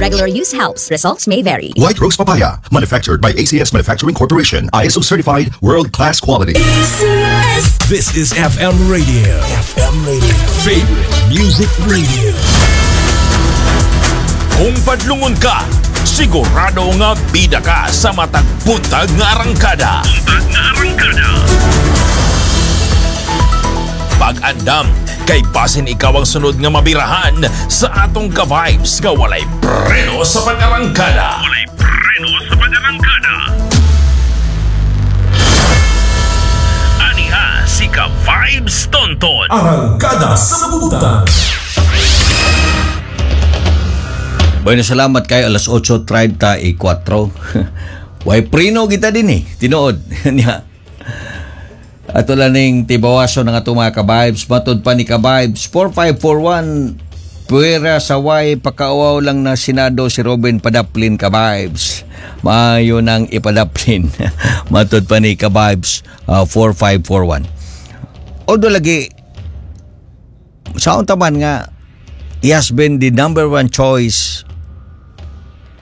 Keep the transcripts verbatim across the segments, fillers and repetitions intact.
Regular use helps. Results may vary. White Rose Papaya, manufactured by A C S Manufacturing Corporation, I S O certified, world-class quality. This is F M Radio. F M Radio. Favorite Music Radio. Kung padlungon ka, sigurado nga bida ka sa matag buntag nga arangkada. Buntag nga arangkada. Pag-andam, kay basin ikaw ang sunod nga mabirahan sa atong ka-vibes nga walay preno sa pag-arangkada. Walay preno sa pag-arangkada. Aniha si Ka-Vibes Tonton. Arangkada sa Buntag. Bueno, salamat kayo, alas otso treinta y cuatro. Way prino kita din eh. Tinuod. Nya. Ato lang ning tibawaso ng atong mga ka-vibes. Matod pa ni ka-vibes four five four one, puwera sa way pakauaw lang na Senado si Robin, padaplin, ka-vibes. Maayo nang ipadaplin. Matod pa ni ka-vibes uh, four five four one. Although lagi, sa taman nga, he has been the number one choice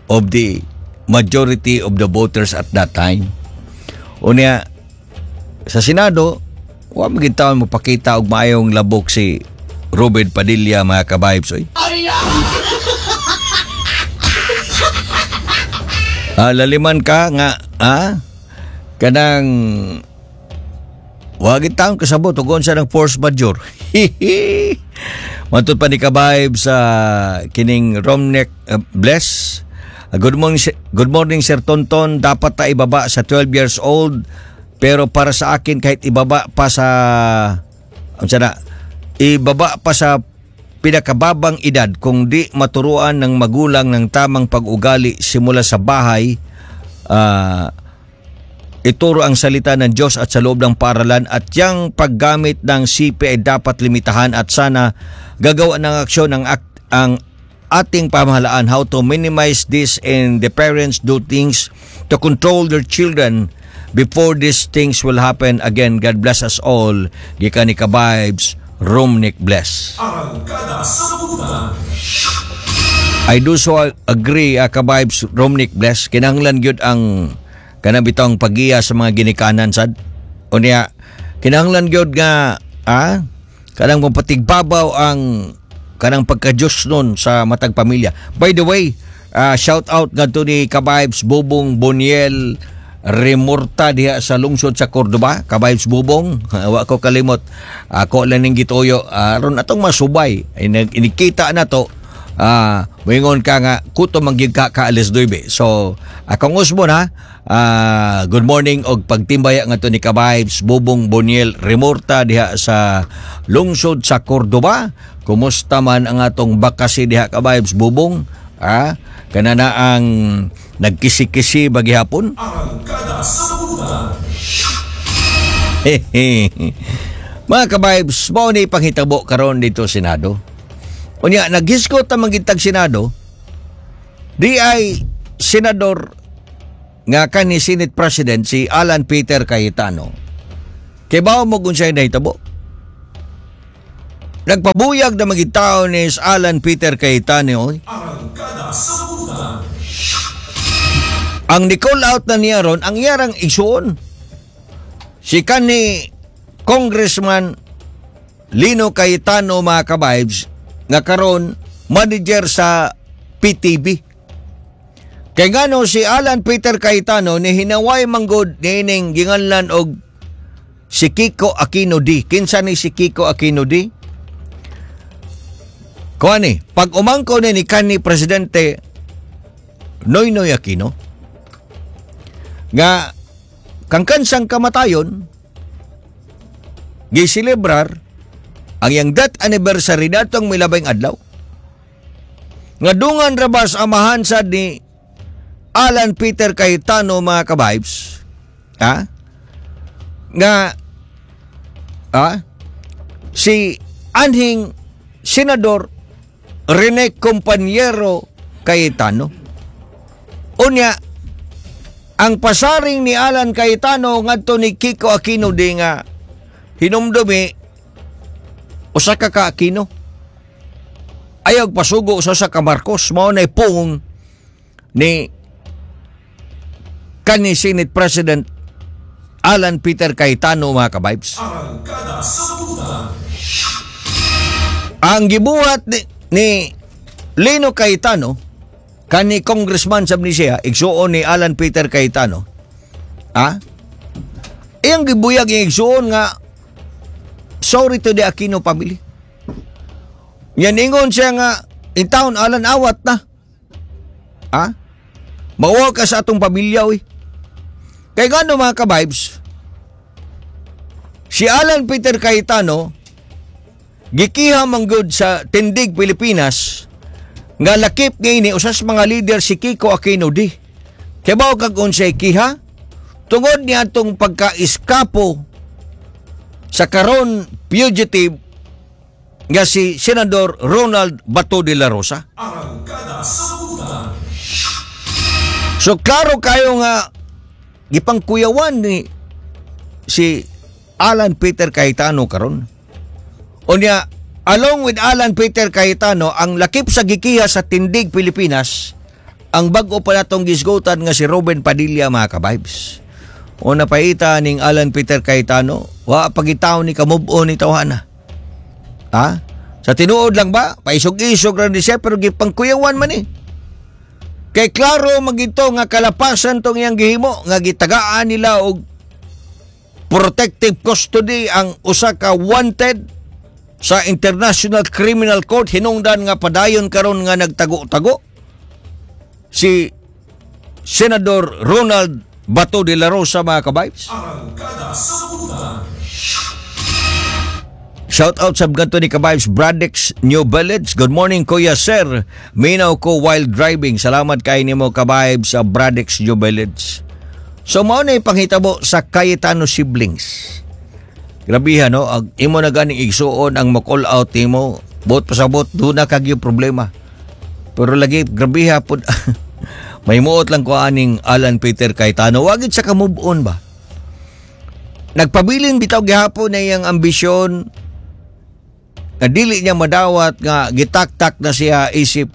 of the majority of the voters at that time. Unya, sa Senado, wa man gid taon mo pakita og maayong labok si Robin Padilla, mga ka-vibes. Oy. Ah, laliman ka nga, ah, kanang wa gid taon kasabot ug unsa ng force majeure. Matod pa ni ka-vibes sa kining Romnek uh, Bless. Uh, good morning, good morning, Sir Tonton. Dapat ta ibaba sa twelve years old, pero para sa akin, kahit ibaba pa sa unsa na, ibaba pa sa pinakababang edad, kung di maturuan ng magulang ng tamang pag-ugali simula sa bahay, ah, ituro ang salita ng Diyos at sa loob ng paaralan, at yang paggamit ng C P ay dapat limitahan at sana gagawa ng aksyon ang, ak- ang ating pamahalaan how to minimize this and the parents do things to control their children before these things will happen again. God bless us all. Gikan ni ka-vibes Romnick Bless. Arangkada sa Buntag. I do so agree, uh, ka-vibes Romnick Bless. Kinahanglan gyud ang kanang bitawng pagiya sa mga ginikanan sad. Unya, kinahanglan gyud nga ah kanang mapatigbabaw ang kanang pagka-Diyos nun sa matag pamilya. By the way, ah, shout out ngadto ni ka-vibes Bubong Boniel Remorta diha sa lungsod sa Cordoba. Ka-vibes Bubong, wa ko kalimot. Ako lang ning gituyo aron atong masubay. Inig- Inikita na to, ah moingon ka nga kuto man gyud ka ka alas nuwebe. So, akong usbon ha. Ah, good morning og pagtimbaya ngadto ni ka-vibes Bubong Boniel Remorta diha sa lungsod sa Cordoba. Kumusta man ang atong bakasi diha, ka-vibes Bubong? Ah, kana na ang nagkisi-kisi bagihapon. Arangkada sa Buntag. Mga ka-vibes, mao ni panghitabo karon dito Senado. Unya, naghiskot ang magitag Senado, di ay senador nga kani Senate President si Alan Peter Cayetano. Kay bawo mo kung siya'y nahitabo. Nagpabuyag na magitao ni Alan Peter Cayetano. Oy. Arangkada sa Buntag. Ang ni-call out na niya ron, ang iyarang igsuon, si kani Congressman Lino Cayetano, mga ka-vibes, nga karon manager sa P T V. Kay ngano si Alan Peter Cayetano ni hinaway manggod niining ginganlan og si Kiko Aquino D. Kinsa ni si Kiko Aquino D? Kuan ni, pag umangko ni ni kanhi Presidente Noynoy Aquino nga kangkansang kamatayon, giselebrar ang iyang death anniversary datong milabay adlaw nga dungan rabas amahan sad ni Alan Peter Cayetano, mga ka-vibes, ha, nga ah si anhing Senador Rene Compañero Cayetano. Unya, ang pasaring ni Alan Cayetano ngadto ni Kiko Aquino di nga hinumdumi usa ka ka Aquino ayaw pasugo sa usa ka Marcos, mao nay pung ni kani Senate President Alan Peter Cayetano, mga ka-vibes. Arangkada sa Butang. Ang gibuhat ni, ni Lino Cayetano, kani congressman sa siya, igsuon ni Alan Peter Cayetano. Ah? Iyang gibuyag yung igsuon nga sorry to the Aquino family. Yan, ingon siya nga in town, Alan, awat na. Ah? Mawag ka sa atong pamilya, uy. Kay gano, mga ka-vibes, si Alan Peter Cayetano gikiha man gud sa Tindig Pilipinas nga lakip ngayon usas mga leader si Kiko Aquino D. Kaya kag unsay kiha? Tungod niya atong pagka-iskapo sa karon fugitive nga si Senador Ronald Bato de la Rosa. Arangkada sa Butang. So klaro kayo nga gipangkuyawan ni si Alan Peter Cayetano karon. Unya, along with Alan Peter Cayetano, ang lakip sa gikiha sa Tindig Pilipinas, ang bag-o pa natong gisgutan nga si Robin Padilla, mga ka-vibes. O napaita ning Alan Peter Cayetano, wa pagitaw ni ka-move on ni tawhana. Ha? Sa tinuod lang ba? Paisog-isog ra ni siya pero gipangkuyawan man eh. Kay klaro magito nga kalapasan tong iyang gihimo nga gitagaan nila og protective custody ang usa ka wanted sa International Criminal Court, hinungdan nga padayon karon nga nagtago-tago si Senador Ronald Bato de la Rosa, mga ka-vibes. Arangkada sa Butang. Shout out sa ganto ni ka-vibes Bradix New Village. Good morning, Kuya Sir. Minaw ko while driving. Salamat kay nimo, ka-vibes sa Bradix New Village. So mao na ipanghitabo sa Cayetano siblings. Grabihan, no, ag imo na ganing igsuon ang mo-call out nimo, buot pasabot duna kag yung problema. Pero lagi grabiha pud, may muot lang ko aning Alan Peter Cayetano. Wagid sa ka move on ba? Nagpabilin bitaw gihapon na iyang ambisyon nga dili niya madawat nga gitaktak na siya isip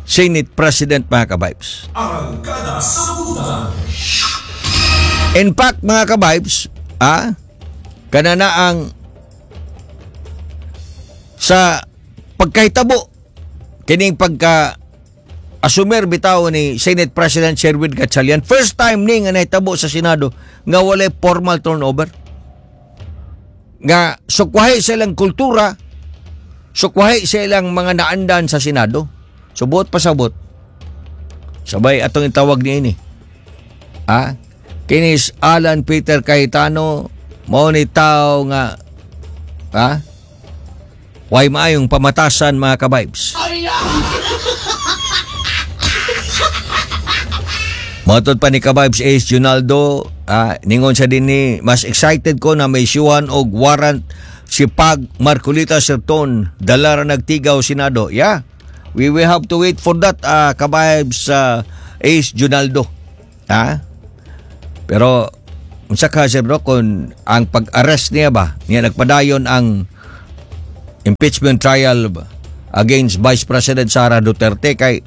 Senate President, mga ka-vibes. Arangkada sa Butang. In fact, mga ka-vibes, ah, kanana ang sa pagkahitabo kining pagka asumer bitaw ni Senate President Sherwin Gatchalian, first time ni nga nahitabo sa Senado nga walay formal turnover, nga sukwahi sa ilang kultura, sukwahi sa ilang mga naandan sa Senado. Subot pasabot, sabay atong itawag ni ini, ah, kinis Alan Peter Cayetano mao ni tao nga ah way maayong pamatasan, mga ka-vibes. Matod pa ni ka-vibes Ace Junaldo, ah, ningon siya din ni, mas excited ko na may isyuhan og warrant si Pag Marcolita Serton, dala ra nagtigaw Senado. Yeah, we will have to wait for that, ah, ka-vibes ah, Ace Junaldo. Ha? Pero, unsa ka, sir bro, kung ang pag-arrest niya ba, niya nagpadayon ang impeachment trial ba against Vice President Sara Duterte, kay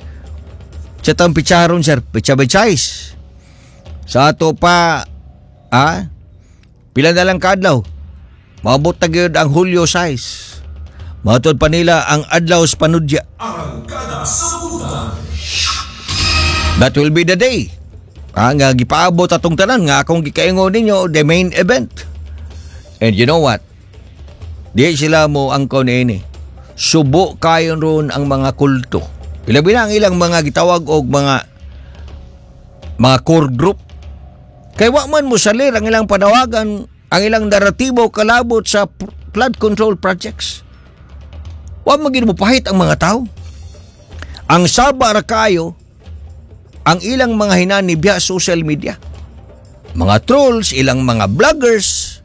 sa tang pitsaron, sir, pitsa-pitsays. Sa ato pa, ah, pila na lang kaadlaw. Maabot na gyud ang Hulyo sais. Matod pa nila ang adlaw sa panudya. Arangkada sa Butang. That will be the day. Ah, nga gipaabot atong tanan nga akong gikaingon ninyo, the main event. And you know what? Di sila mo angkon ini. Subo kayon ron ang mga kulto. Ilabi na ang ilang mga gitawag og mga mga core group. Kay wa man mo salir ang ilang panawagan, ang ilang naratibo kalabot sa flood control projects. Wa man gid mo pahit ang mga tao. Ang saba ra kayo ang ilang mga hinani via social media. Mga trolls, ilang mga vloggers.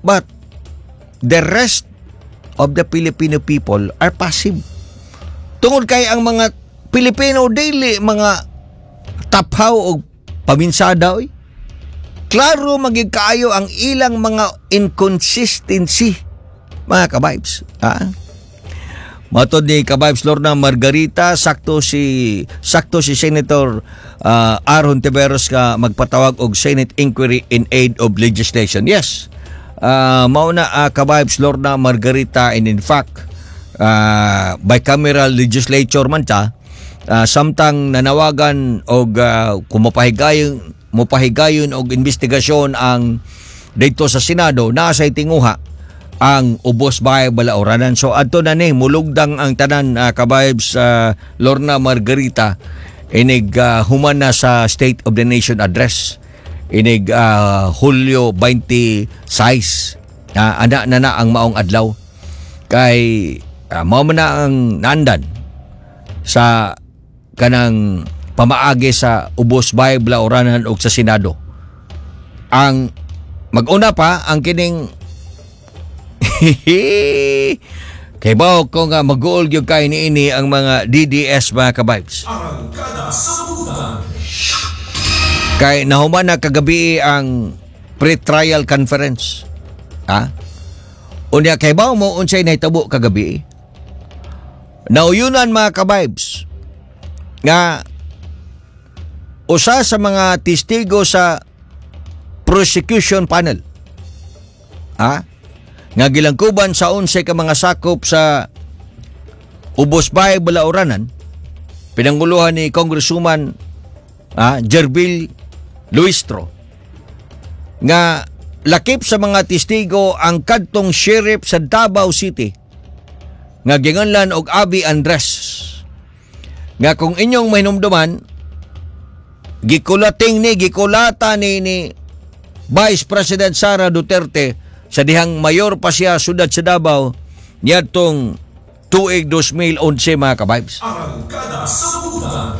But the rest of the Filipino people are passive. Tungod kay ang mga Pilipino daily mga taphaw o paminsada oy. Klaro magig kaayo ang ilang mga inconsistency, mga ka-vibes. Ha? Matod ni Kabibes Lorna Margarita, sakto si sakto si Senator uh, R. Hontiveros nga magpatawag og Senate inquiry in aid of legislation. Yes. Uh, mao na uh, Kabibes Lorna Margarita, and in fact uh, bicameral legislature man ta uh, samtang nanawagan og uh, kumapahigayon mopahigayon og investigasyon ang dito sa Senado, naa say tinguha ang Ubos Bahay Balauranan. So adto na ni mulugdang ang tanan, uh, Kabibes uh, Lorna Margarita, inig uh, human na sa State of the Nation Address inig uh, Hulyo twenty-six. Uh, ana na na ang maong adlaw kay uh, mao man na ang naandan sa kanang pamaagi sa Ubos Bahay Balauranan ug sa Senado. Ang mag-una pa ang kining kay bao ko nga mag-uol gyud kay niini ang mga D D S, mga kabibes. Arangkada sa Butan. Kay nahuman na kagabi ang pre-trial conference. Ha? Unya kay bao mo unsay nahitabo kagabi? Nauyunan, mga kabibes, nga usa sa mga testigo sa prosecution panel, ha, nga gilangkuban sa onse ka mga sakop sa Ubos Bahay Balauranan, pinanguluhan ni Congresswoman ah, Gerville Luistro, nga lakip sa mga testigo ang kadtong sheriff sa Davao City nga ginganlan og Abi Andres, nga kung inyong mahinumduman, gikulating ni gikulata ni ni Vice President Sara Duterte sa dihang mayor pa siya sudad sa Davao niadtong tuig two thousand eleven, mga kabibes. Arangkada sa Butan.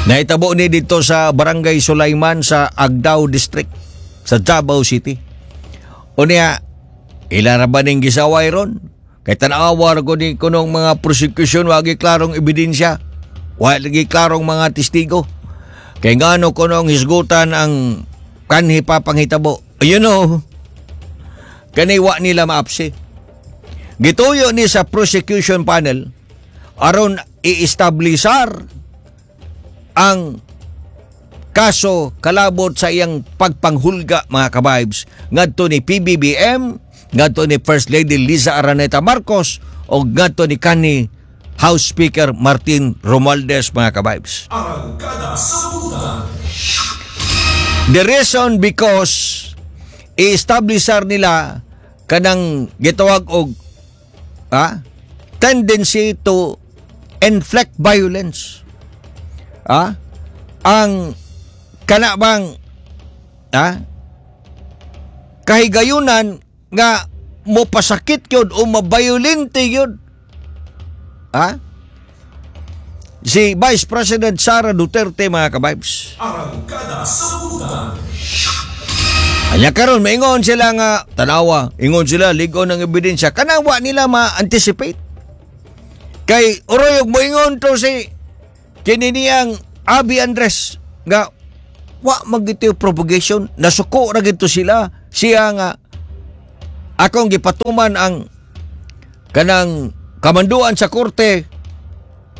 Naitabo ni dito sa Barangay Sulaiman sa Agdao District sa Davao City. Unya, ila ra ba ning gisaway ron? Kay tan-awa ra ko ni kunong mga prosecution, wagi klarong ebidensya. Wa lagi klarong mga testigo. Kay ngano kunong hisgutan ang kanhi pa panghitabo? You know, kani wa nila maapsi. Gituyo ni sa prosecution panel aron i-establisar ang kaso kalabot sa iyang pagpanghulga, mga kabibes, ngadto ni P B B M, ngadto ni First Lady Liza Araneta Marcos o ngadto ni kanhi House Speaker Martin Romualdez, mga kabibes. Arangkada sa Butan. The reason, because i-establisar nila kanang gitawag og ah, tendency to inflict violence. Ah, ang kana bang ah, kahigayunan nga mopasakit gyud o mabayolente gyud ah, si Vice President Sara Duterte, mga kabibes. Arangkada sa Butan. Anya karon maingon sila nga tanawa, ingon sila lig-on ng ebidensya, kanang wa nila ma-anticipate. Kay uroyog moingon to si kini niyang Abi Andres nga wa magito propagation, nasuko ra gito sila siya nga akong gipatuman ang kanang kamanduan sa korte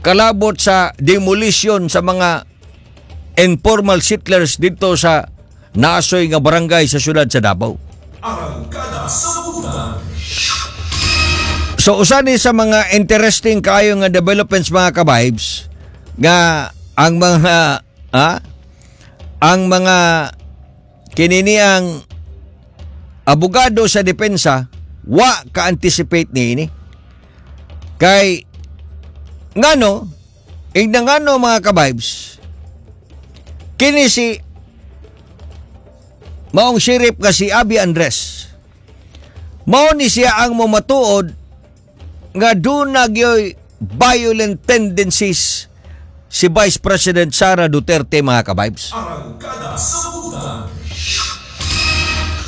kalabot sa demolition sa mga informal settlers dito sa Nasoy nga barangay sa syudad sa Davao. Arangkada sa Butan. So usa ni sa mga interesting kaayo nga developments, mga kabibes, nga ang mga ah, ang mga kinini ang abogado sa depensa wa ka-anticipate niini. Kay ngano, ingna ngano, mga kabibes, kini si maong sheriff nga si Abi Andres, mao ni siya ang mamatuod nga duna gyoy violent tendencies si Vice President Sara Duterte, mga kabibes. Arangkada sa Butan.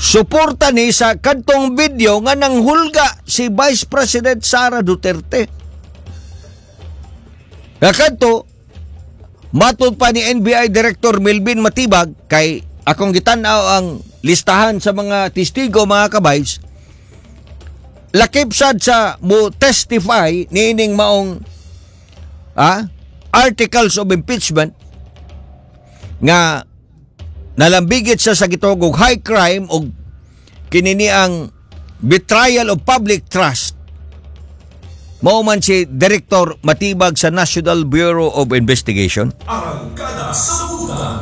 Suporta ni sa kadtong video nga nanghulga si Vice President Sara Duterte. Nga kadto, matod pa ni N B I Director Melvin Matibag, kay akong gitan-aw ang listahan sa mga testigo, mga kabibes, Lakip sad sa mo testify niining maong ah, articles of impeachment nga nalambigit siya sa gitawag og high crime og kini ang betrayal of public trust, mao man si Director Matibag sa National Bureau of Investigation. Arangkada sa Butan.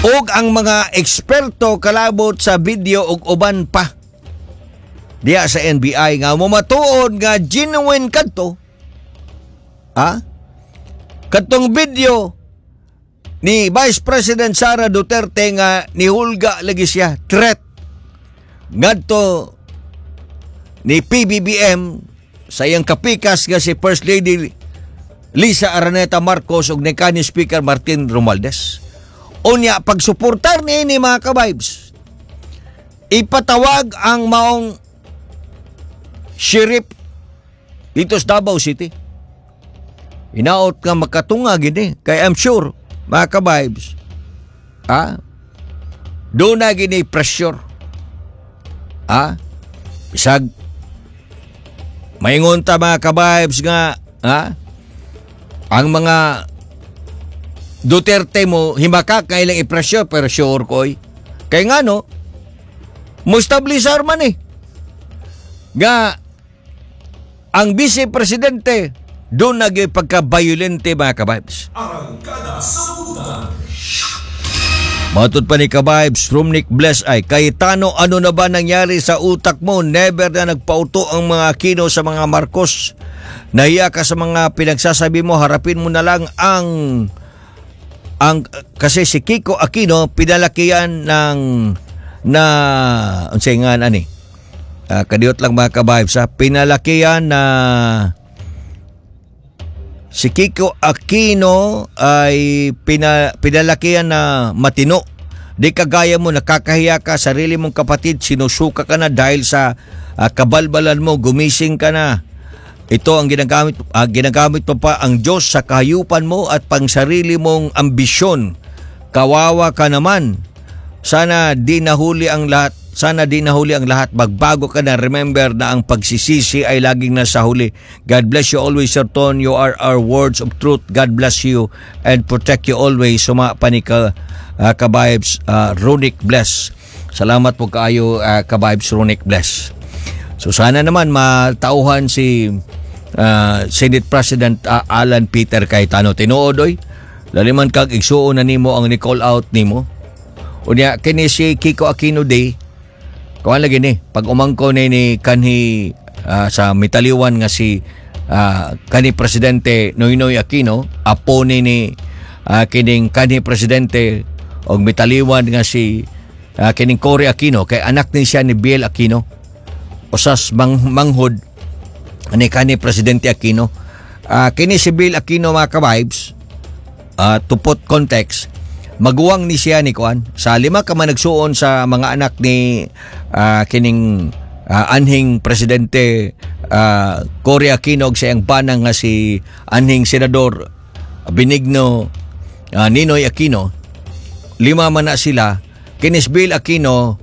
Ug ang mga eksperto kalabot sa video ug uban pa diya sa N B I nga mumatuod nga genuine kadto ah kadtong video ni Vice President Sara Duterte nga nihulga lagi siya, threat ngadto ni P B B M sa iyang kapikas nga si First Lady Lisa Araneta Marcos ug ni kanhi Speaker Martin Romualdez. Unya pagsuportar niini, mga ka-vibes, ipatawag ang maong sheriff dito sa Davao City. Hinaot nga makatunga gini kay I'm sure, mga ka-vibes, ah, doon na gini pressure. Ah, bisag maingon ta, mga ka-vibes, nga ah, ang mga Duterte mo himakak nga ilang i-pressure, pero sure ko oy. Kay nga no, mo establisar man eh nga ang vice presidente doon nag pagka-violente, mga ka-vibes. Arangkada sa Butan. Matod pa ni ka-vibes Romnick Bless ay, "Cayetano, ano na ba nangyari sa utak mo? Never na nagpauto ang mga Aquino sa mga Marcos. Nahiya ka sa mga pinagsasabi mo, harapin mo na lang ang ang kasi si Kiko Aquino pinalakian ng na unsay nga ani." Uh, kadiyot lang, mga ka-vibes, ha. Pinalakian na si Kiko Aquino ay pina, pinalakian na matino. Di kagaya mo, nakakahiya ka, sarili mong kapatid, sinusuka ka na dahil sa ah, kabalbalan mo, gumising ka na. Ito ang ginagamit, ah, ginagamit mo pa ang Diyos sa kahayupan mo at pangsarili mong ambisyon. Kawawa ka naman. Sana di nahuli ang lahat. Sana di nahuli ang lahat. Magbago ka na. Remember na ang pagsisisi ay laging nasa huli. God bless you always, Sir Ton. You are our words of truth. God bless you and protect you always. Suma pa ni ka, uh, ka-vibes, uh, Ronic Bless. Salamat po kaayo, uh, ka-vibes Ronic Bless. So sana naman matauhan si uh, Senate President uh, Alan Peter Cayetano. Tinuod oy. Laliman kag igsuon na nimo ang ni-call out nimo. Unya kini si Kiko Aquino Day. Kuan lagi ni pag umangko ni ni kanhi ah, sa mitaliwan nga si ah, kanhi presidente Noynoy Aquino, apo ni ni ah, kining kanhi presidente og mitaliwan nga si ah, kining Cory Aquino, kay anak ni siya ni Biel Aquino, usas mang, manghod ni kanhi presidente Aquino. Ah, kini si Bill Aquino, mga ka-vibes, uh, to put context, maguwang ni siya ni kuan sa lima ka managsuon sa mga anak ni ah, kining ah, anhing presidente uh, Cory Aquino ug sa iyang banang nga si anhing senador Benigno ah, Ninoy Aquino. Lima man na sila. Kinis Bill Aquino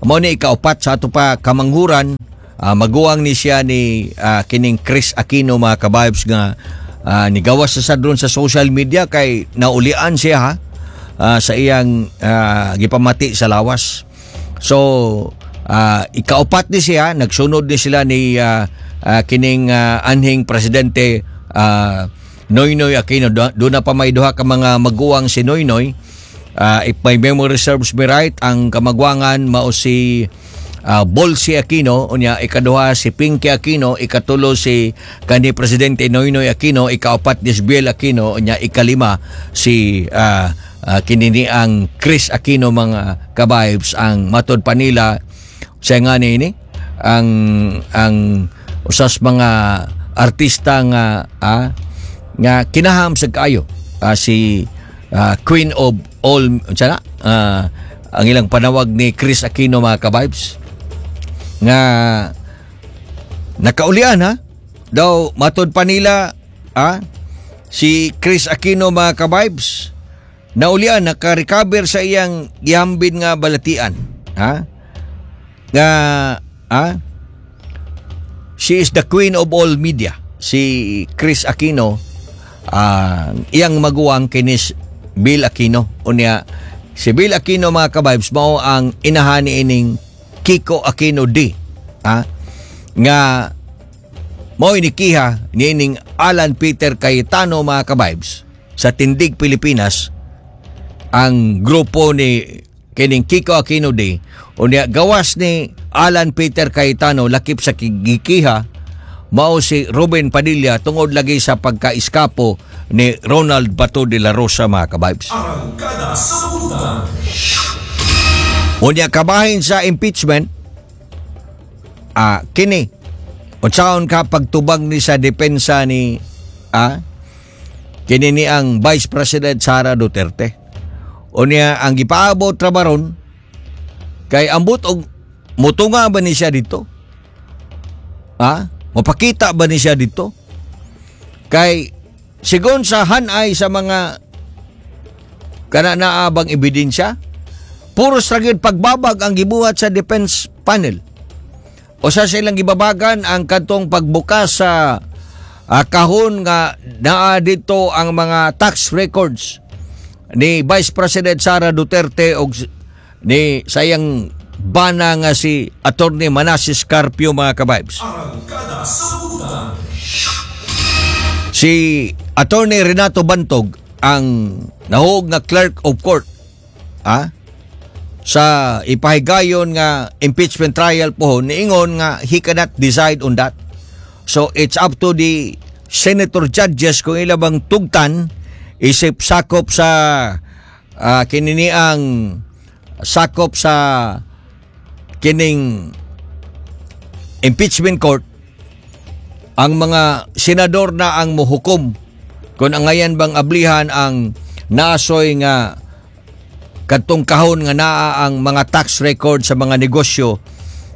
mao ni ikaupat sa ato pa kamanghuran. Ah, maguwang ni siya ni ah, kining Kris Aquino, mga ka-vibes, nga ah, nigawas sa sad ron sa social media kay naulian siya ha ah, sa iyang ah, gipamati sa lawas. So ah, ikaupat ni siya, nagsunod ni sila ni ah, ah, kining ah, anhing presidente ah, Noynoy Aquino. Doon na pa may duha ka mga maguwang si Noynoy. Ah, if my memory serves me right, ang kamagwangan mao si uh, Bolsey Aquino, unya ikaduha si Pinky Aquino, ikatulo si kanhi presidente Noynoy Aquino, ikaapat ni Biel Aquino, unya ikalima si uh, uh, kinini ang Kris Aquino, mga ka-vibes. Ang matod pa nila siya nga ni ang ang usas mga artista nga ah, nga kinaham sa kaayo, ah, si ah, Queen of All unsa na ah, ang ilang panawag ni Kris Aquino, mga ka-vibes, nga nakaulian ha daw. Matod pa nila ah, si Kris Aquino, mga ka-vibes, naulian, naka-recover sa iyang gihambin nga balatian ha nga ah, She is the queen of all media. Si Kris Aquino, ah, iyang maguwang kini si Bill Aquino. Unya si Bill Aquino, mga kabibes, mao ang inahan ining Kiko Aquino D. Ha? Nga mao inikiha niining Alan Peter Cayetano, mga kabibes, sa Tindig Pilipinas ang grupo ni kining Kiko Aquino D. Unya gawas ni Alan Peter Cayetano, lakip sa gikiha mao si Robin Padilla tungod lagi sa pagka-iskapo ni Ronald Bato de la Rosa, mga kabibes. Arangkada sa Butang. Unya kabahin sa impeachment, ah kini unsaon ka pagtubag ni sa depensa ni ah kini ni ang Vice President Sara Duterte. Unya ang gipaabot ra baron kay ambot og mutunga ba ni siya dito? Ha? Mapakita ba ni siya dito? Kay sigon sa hanay sa mga kana naabang ebidensya, puros ra gyud pagbabag ang gibuhat sa defense panel. O sa silang gibabagan ang kadtong pagbukas sa ah, kahon nga naa dito ang mga tax records ni Vice President Sara Duterte og s- ni sayang bana nga si Attorney Manases Carpio, mga kabibes. Arangkada sa Butang. Si Attorney Renato Bantog ang nahog nga clerk of court ah sa ipahigayon nga impeachment trial po, niingon nga he cannot decide on that. So it's up to the senator judges kung ila bang tugtan isip sakop sa uh, kininiang sakop sa kining impeachment court. Ang mga senador na ang muhukom kung angayan bang ablihan ang naasoy nga kadtong kahon nga naa ang mga tax record sa mga negosyo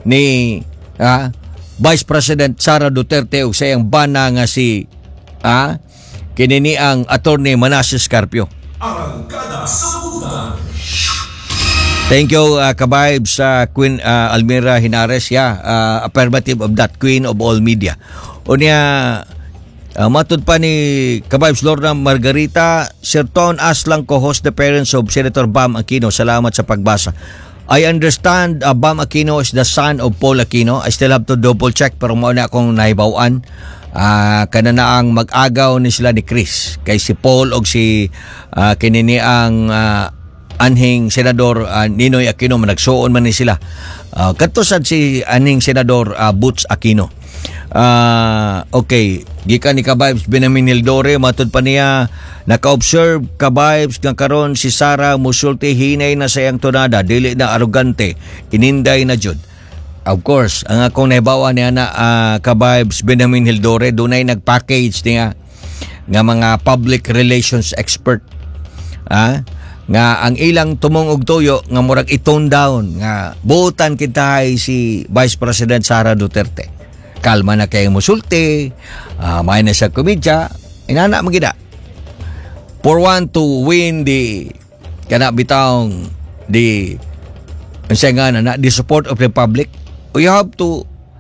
ni ah, Vice President Sara Duterte ug sa iyang bana nga si ah, kini ang Attorney Manases Carpio. Arangkada sa Butang. Thank you, uh, Kabibes sa Queen uh, Almira Hinares. Yeah, uh, affirmative of that, queen of all media. Unya uh, matud pa ni Kabibes Lorna Margarita, Sir Ton Aslang co-host the parents of Senator Bam Aquino. Salamat sa pagbasa. I understand uh, Bam Aquino is the son of Paul Aquino. I still have to double check pero mao na akong nahibaw-an. Ah, kana na ang mag-agaw ni sila ni Kris kay si Paul og si uh, kinini ang ah, anhing Senador uh, Ninoy Aquino managsuon man ni sila. Uh, kadto sad si anhing Senador uh, Boots Aquino. Ah, okay, gikan ni Kabibes Benjamin Hildore, matud pa niya, naka-observe Kabibes nga karon si Sara musulti hinay na sa iyang tonada, dili na arugante, ininday na jud. Of course, ang akong nahibawan niya na uh, Kabibes Benjamin Hildore, dunay nag-package niya nga mga public relations expert. Ah, nga ang ilang tumong og tuyo nga murag i-tone down nga buotan kita si Vice President Sara Duterte. Kalma na kay musulti, uh, may na siya komedya, inana magida. For one to win the kana bitawng the unsa nga na, the support of the public, you have to